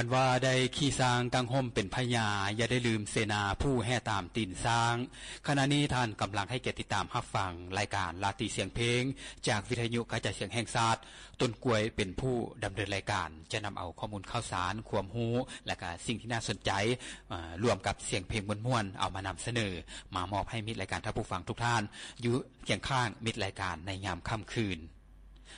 ອັນວ່າໄດ້ຂີ່ຊ້າງກາງຮົ່ມເປັນພະຍາ, ຢ່າໄດ້ລືມເສນາຜູ້ແຫ່ຕາມຕີນຊ້າງ. ຂະນະນີ້ທ່ານກຳລັງໃຫ້ກຽດຕິດຕາມຮັບຟັງລາຍການລາຕີສຽງເພງ ຈາກວິທະຍຸກະຈາຍສຽງແຫ່ງຊາດ. ຕົ້ນກ້ວຍເປັນຜູ້ດຳເນີນລາຍການ, ຈະນຳເອົາຂໍ້ມູນຂ່າວສານ, ຄວາມຮູ້ ແລະ ກະສິ່ງທີ່ໜ້າສົນໃຈ, ເອີ, ລວມກັບສຽງເພງມ່ວນໆ ເອົາມານຳສະເໜີ, ມາມອບໃຫ້ມິດລາຍການທ່ານຜູ້ຟັງທຸກທ່ານ ຢູ່ຄຽງຂ້າງມິດລາຍການໃນຍາມຄ່ຳຄືນ.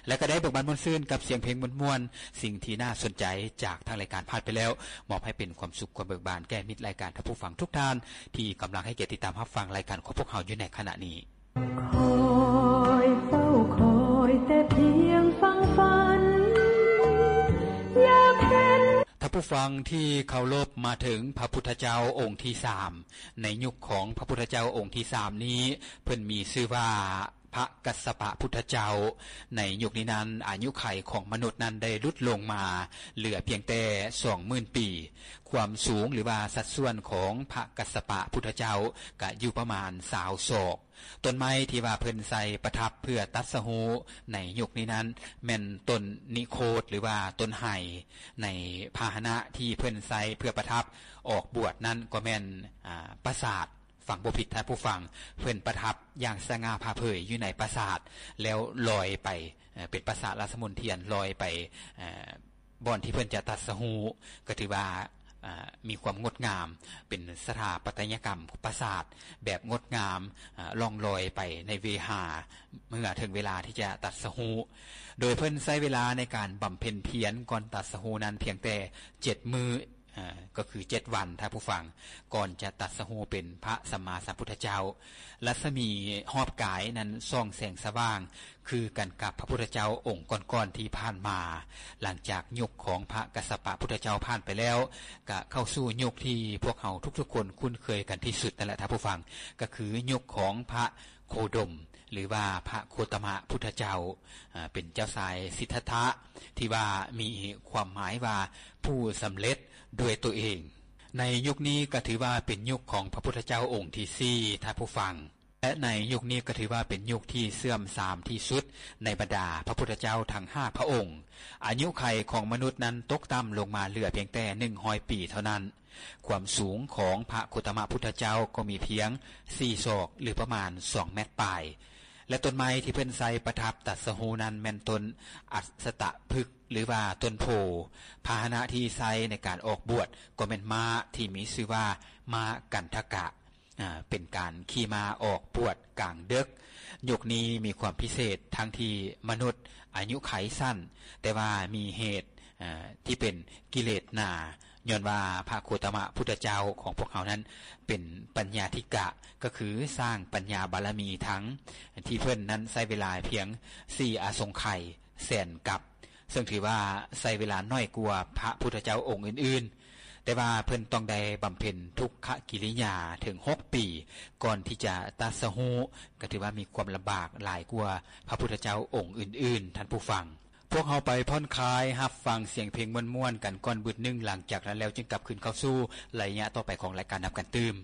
ແລະ ກໍໄດ້ເບີກບານມ່ວນຊື່ນກັບສຽງເພງມ່ວນໆ, ສິ່ງທີ່ໜ້າສົນໃຈຈາກທາງລາຍການຜ່ານໄປແລ້ວ, ມອບໃຫ້ເປັນຄວາມສຸກຄວາມເບີກບານແກ່ມິດລາຍການທ່ານຜູ້ຟັງທຸກທ່ານ ທີ່ກຳລັງໃຫ້ກຽດຕິດຕາມຮັບຟັງລາຍການຂອງພວກເຮົາຢູ່ໃນຂະນະນີ້. ຄອຍເຝົ້າຄອຍແຕ່ພຽງຝັງຝັນ ຢາກເຫັນ. ທ່ານຜູ້ຟັງທີ່ເຄົາລົບ, ມາເຖິງພະພຸດທະເຈົ້າອົງທີສາມ. ໃນຍຸກຂອງພະພຸດທະເຈົ້າອົງທີສາມນີ້ ເພິ່ນມີຊື່ວ່າ ພະກັດສະປະພຸດທະເຈົ້າ. ໃນຍຸກນີ້ນັ້ນ ອາຍຸໄຂຂອງມະນຸດນັ້ນໄດ້ຫຼຸດລົງມາເຫຼືອພຽງແຕ່ສອງໝື່ນປີ. ຄວາມສູງ ຫຼືວ່າສັດສ່ວນຂອງພະກັດສະປະພຸດທະເຈົ້າກະຢູ່ປະມານຊາວສອກ. ຕົ້ນໄມ້ທີ່ວ່າເພິ່ນໃສ່ປະທັບເພື່ອຕັດສະຮູ້ໃນຍຸກນີ້ນັ້ນ ແມ່ນຕົ້ນນິໂຄດ ຫຼືວ່າຕົ້ນໄຮ. ໃນພາຫະນະທີ່ເພິ່ນໃສ່ເພື່ອປະທັບອອກບວດນັ້ນກໍແມ່ນ ອາ ປາສາດ. ຟັງບໍ່ຜິດທ່ານຜູ້ຟັງ, ເພິ່ນປະທັບຢ່າງສະຫງ່າຜ່າເຜີຍຢູ່ໃນປາສາດ ແລ້ວລອຍໄປ, ເອີ, ເປັນປາສາດລາຊະມົນທຽນ ລອຍໄປ, ເອີ, ບ່ອນທີ່ເພິ່ນຈະຕັດສະຮູ້ ກໍຖືວ່າ, ເອີ, ມີຄວາມງົດງາມ, ເປັນສະຖາປັດຕະຍະກຳປາສາດແບບງົດງາມ, ເອີ, ລ່ອງລອຍໄປໃນເວຫາ ເມື່ອເຖິງເວລາທີ່ຈະຕັດສະຮູ້. ໂດຍເພິ່ນໃຊ້ເວລາໃນການບຳເພັນພຽນກ່ອນຕັດສະຮູ້ນັ້ນພຽງແຕ່ເຈັດມື້. ເອີ ກໍຄືເຈັດວັນ ທ່ານຜູ້ຟັງ, ກ່ອນຈະຕັດສະຮູ້ເປັນພະສຳມາສຳພຸດທະເຈົ້າ. ລັດສະໝີຮອບກາຍນັ້ນສ່ອງແສງສະຫວ່າງຄືກັນກັບພະພຸດທະເຈົ້າອົງກ່ອນໆທີ່ຜ່ານມາ. ຫຼັງຈາກຍຸກຂອງພະກັດສະປະພຸດທະເຈົ້າຜ່ານໄປແລ້ວ, ກະເຂົ້າສູ່ຍຸກທີ່ພວກເຮົາທຸກໆຄົນຄຸ້ນເຄີຍກັນທີ່ສຸດນັ້ນແຫຼະ ທ່ານຜູ້ຟັງ, ກໍຄືຍຸກຂອງພະໂຄດົມ ຫຼືວ່າພະໂຄຕະມະພຸດທະເຈົ້າ, ອາ, ເປັນເຈົ້າຊາຍສິດທັດຖະ ທີ່ວ່າມີຄວາມໝາຍວ່າຜູ້ສຳເລັດດ້ວຍຕົວເອງ. ໃນຍຸກນີ້ກໍຖືວ່າເປັນຍຸກຂອງພະພຸດທະເຈົ້າອົງທີສີ່ ທ່ານຜູ້ຟັງ, ແລະ ໃນຍຸກນີ້ກໍຖືວ່າເປັນຍຸກທີ່ເສື່ອມຊາມທີ່ສຸດໃນບັນດາພະພຸດທະເຈົ້າທັງຫ້າພະອົງ. ອາຍຸໄຂຂອງມະນຸດນັ້ນຕົກຕ່ຳລົງມາເຫຼືອພຽງແຕ່ໜຶ່ງຮ້ອຍປີເທົ່ານັ້ນ. ຄວາມສູງຂອງພະໂຄຕະມະພຸດທະເຈົ້າກໍມີພຽງສີ່ສອກ ຫຼື ປະມານສອງແມັດປາຍ. ແລະ ຕົ້ນໄມ້ທີ່ເພິ່ນໃສ່ປະທັບຕັດສະຮູ້ນັ້ນແມ່ນຕົ້ນອັດສະຕະພຶກ ຫຼືວ່າຕົ້ນໂພ. ພາຫະນະທີ່ໃຊ້ໃນການອອກບວດກໍແມ່ນມ້າທີ່ມີຊື່ວ່າມ້າກັນທະກະ, ອາ, ເປັນການຂີ່ມ້າອອກບວດກາງເດິກ. ຍຸກນີ້ມີຄວາມພິເສດທັງທີ່ມະນຸດອາຍຸໄຂສັ້ນ, ແຕ່ວ່າມີເຫດ, ອາ, ທີ່ເປັນກິເລດໜາ. ຍ້ອນວ່າພະໂຄຕະມະພຸດທະເຈົ້າຂອງພວກເຮົານັ້ນເປັນປັນຍາທິກະ, ກໍຄືສ້າງປັນຍາບາລະມີທັງ ທີ່ເພິ່ນນັ້ນໃຊ້ເວລາພຽງສີ່ອະສົງໄຂແສນກັບ, ເຊິ່ງຖືວ່າໃຊ້ເວລາໜ້ອຍກວ່າພະພຸດທະເຈົ້າອົງອື່ນໆ, ແຕ່ວ່າເພິ່ນຕ້ອງໄດ້ບຳເພັນທຸກຂະກິລິຍາເຖິງຫົກປີ ກ່ອນທີ່ຈະຕັດສະຮູ້, ກໍຖືວ່າມີຄວາມລຳບາກຫຼາຍກວ່າພະພຸດທະເຈົ້າອົງອື່ນໆ, ທ່ານຜູ້ຟັງ. ພວກເຮົາໄປຜ່ອນຄາຍຮັບຟັງສຽງເພງມ່ວນໆກັນກ່ອນບຶດໜຶ່ງ, ຫຼັງຈາກນັ້ນແລ້ວຈຶ່ງກັບຄືນເຂົ້າສູ່ໄລຍະຕໍ່ໄປຂອງລາຍການນຳກັນຕື່ມ.